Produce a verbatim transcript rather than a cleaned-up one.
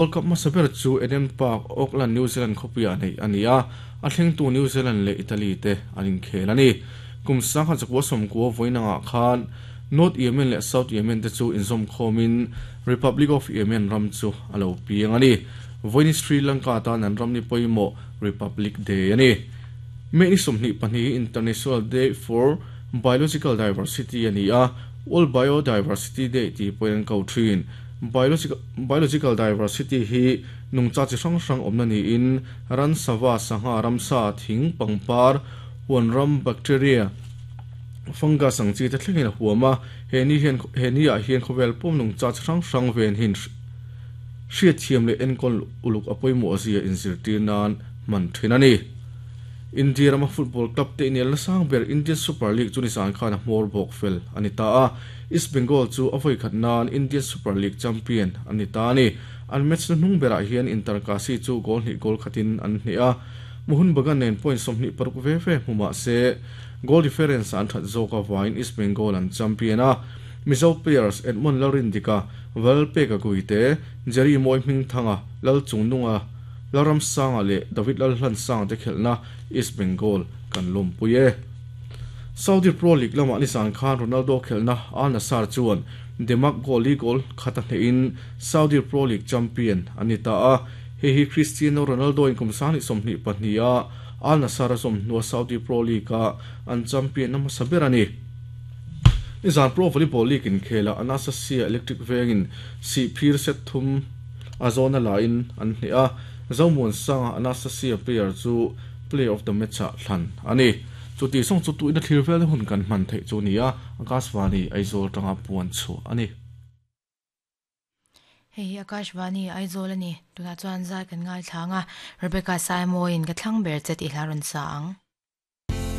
World Cup hmasa ber chu Eden Park, Auckland, New Zealand khawpuiah neih a ni a, a thlengtu New Zealand leh Italy te an inkhel a ni. Kum sangkhat zakua sawmkua vawiinangah khan North Yemen leh South Yemen te chu inzawm khawmin Republic of Yemen ram chu a lo piang a ni. Vawiin Sri Lanka tan an ram ni pawimawh Republic Day a ni. May ni sawmhnih pahnih International Day for Biological Diversity a ni a, World Biodiversity Day tih pawhin an ko thin. Biological, biological diversity hi nungcha chi hrang hrang awmna niin ran sava sangha ramsa thing pangpar huan ram bacteria fungus ang chi te thlengin a huam a, he ni hian he ni ah hian khawvel pawm nungcha chi hrang hrang ven hin hriat thiam leh enkawl uluk a pawimawh zia inzirtir nan hman thin a ni. India rama football club te inel nasang ber Indian Super League chu nisan khan a hmawr bawk fel a ni ta a, East Bengal chu a vawi khat nan Indian Super League champion a ni ta a ni. An match na hnung berah hian Inter Kashi chu goal hnih goal khatin an hne a, Mohun Bagan nen point sawmhnih paruk ve ve hmu mah se goal difference an that zawk awain East Bengal an champion a. Mizo players Edmund Lalrindika, Valpeka Guite, Jerry Moi Hming Thanga, Lal Chungnunga, Laram Sanga leh David Lalhlan Sang te khelhna East Bengal kan lawmpui e. Saudi Pro League lama nisan khan Ronaldo khelhna Al Nassr chuan Demak goal li goal khata hnehin Saudi Pro League champion ani ta a, hei hi Cristiano Ronaldo in kum sang ni sawmhnih pahnih a Al Nassr a zawm hnua Saudi Pro League a an champion na hmasa ber a ni. Nizan Pro Volleyball League in khela Anastasia Electric Vengin si phir set thum a zawna la in an hne a, Zomuan Sanga Anastasia player chu player of the match ah thlan a ni. Chu ti song chu tu ina thlir vel hun kan hman theih chu ni a, Akashvani Aizawl tanga puan chu a ni. Hei Akashvani Aizawl ani tuna chuan zai kan ngai thlanga Rebecca Saimoin ka thlang ber che ti hla ron sa ang.